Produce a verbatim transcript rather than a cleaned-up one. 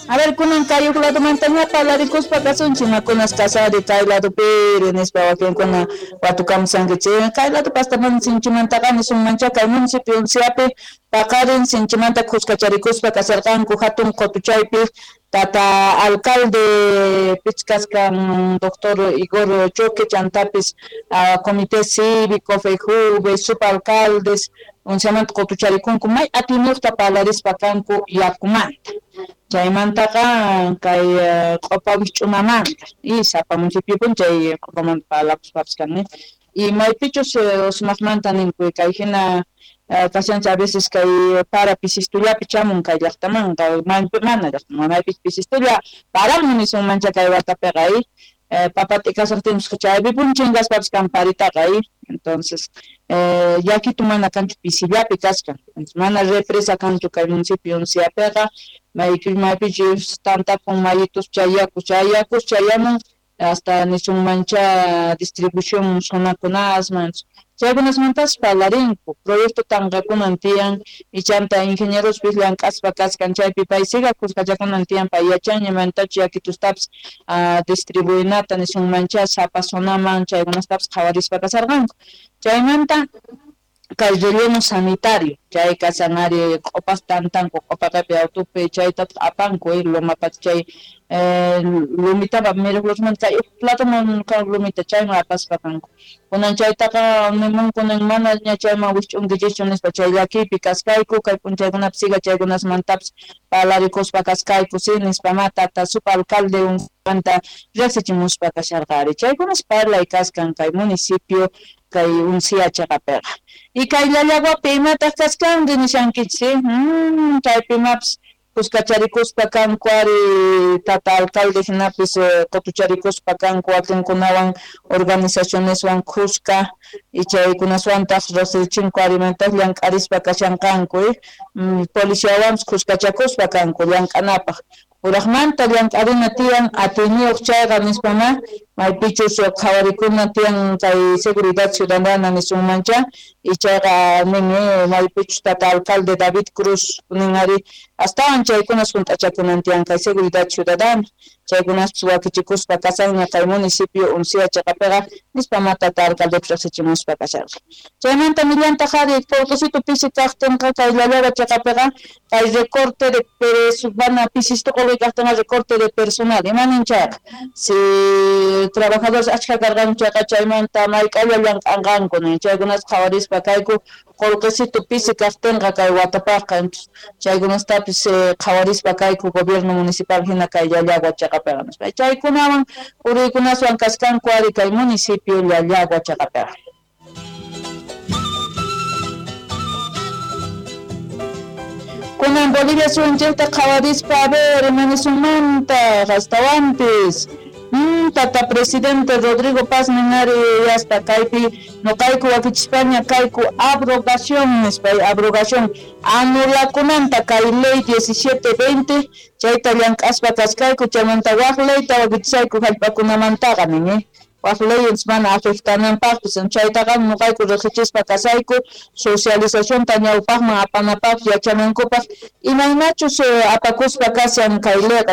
A ver, kunan kay huk ladomantaña parlarikuspa kasunchik, imakunas kasari kay ladopiri nispa wakinkuna watukamusankichik. Kay ladopi hasta mana sinchimantaqa nisunmancha kay municipio Unciapi paqarin sinchimanta kuskacharikuspa kasarqanku hatun qutuchaypi tata alcalde pichkaskan doctor Igor Choque chantapis uh, comité cívico, FEJUVE, subalcaldes unciamanta qutucharikunku may atiyniyuqta parlarispa kanku yakumanta. Chaymantaqa kay q'upa wikch'unamanta y sapa municipiopin chay q'upamanta parlakuspapis kan y maypichus sumaqmanta ninku kay hina kashanchik a veces kay para pisistullapi chamun kay llaqtamanqa mana llaqtaman maypis pisistulla paramun nisunmancha kay watapiqa papa t'ikasaqtinpis chaypipuni chinkaspapis kan paritaqa entonces yakitu mana kanchu pisillapi kachkan mana represa kanchu kay municipio Unciapiqa maypichus tantakun mayitus chay yakus chay yakus chayamun hasta nisunmancha distribución zonakunasman chaykunasmantas parlarinku proyecto tanqakunan tiyan y chanta ingenierospis llank'aspa kachkan chaypi pay siga kuskachakunan tiyan pay yachanña maymantachu yakitustapis distribuinata nisunmancha sapa zonaman chaykunastapis qhawarispa kasarqanku chaymanta kay relleno sanitario chay kashan ari q'upas tantanku q'upaqapi autopi chaytataq apanku Lomapacha chay lumitapa Mirafloresmanta kay platoman kan lumita chayman apaspa kanku kunan chaytaqa nimunku nin manaña chayman wikch'unkichischu nispa chay llakiypi kaskayku kay p'unchaykunapi siga chaykunasmantapis parlarikuspa kaskayku si nispa ma tata subalcalde manta riqsichimuspa kasharqa ari chaykunas parlay kaskan kay municipio kay Uncia chaqapiqa y kay Llallaguapi imataq kaskanri nishankichik mm, chaypi imapis kuskacharikuspa kanku ari tata alcalde hinapis qutucharikuspa kanku wakinkunawan organizacioneswan kuska y chaykunaswantaq riqsichinku arimantaq llank'arispa kashanqanku policiawanpis kuskachakuspa kanku llank'anapaq Uraqmanta llank'arina tiyan atiyniyuq chayqa nispama maypichus qhawarikuna tiyan kay seguridad ciudadana nisunmancha y chayqa nin maypichus tata alcalde David Cruz nin ari astawan chaykunas hunt'achakunan tiyan kay seguridad ciudadana chaykunaspis wakichikuspa kashanña kay municipio Uncia chaqapiqa nispama tata alcaldepis riqsichimuspa kasharqa chaymanta millantaq ari qullqisitu pisi kaqtinqa kay Llallagua chaqapiqa kay recorte de mana pisistu qullqi kaqtinqa recorte de personal imanin chayqa si trabajadores achka karqanku chayqa chaymanta mayk'alla llank'anqanku nin chaykunas qhawarispa kayku qullqisitu pisi kaqtinqa kay watapaqqa chaykunastapis qhawarispa kayku gobierno municipal hina kay Llallagua chaqapiqa nispa chaykunawan puriykunaswan kaskanku ari kay municipio Llallagua chaqapiqa. Kunan Bolivia suyunchikta qhawarispa a ver imanisunmanta astawanpis Mm, tata presidente Rodrigo Paz ninari yaspa kaypi noqayku wakichispaña kayku abrogación nispa abrogación anulakunanta kay ley diecisiete veinte chayta llank'aspa kaskayku chaymanta waq leyta wakichishayku hallp'akunamantaqa nin waq leyes mana afectananpaqpis chaytaqa noqayku riqsichispa kasayku socializacionta ñawpaqman apanapaq yachanankupaq imaynachus apakuspa kashan kay leyqa.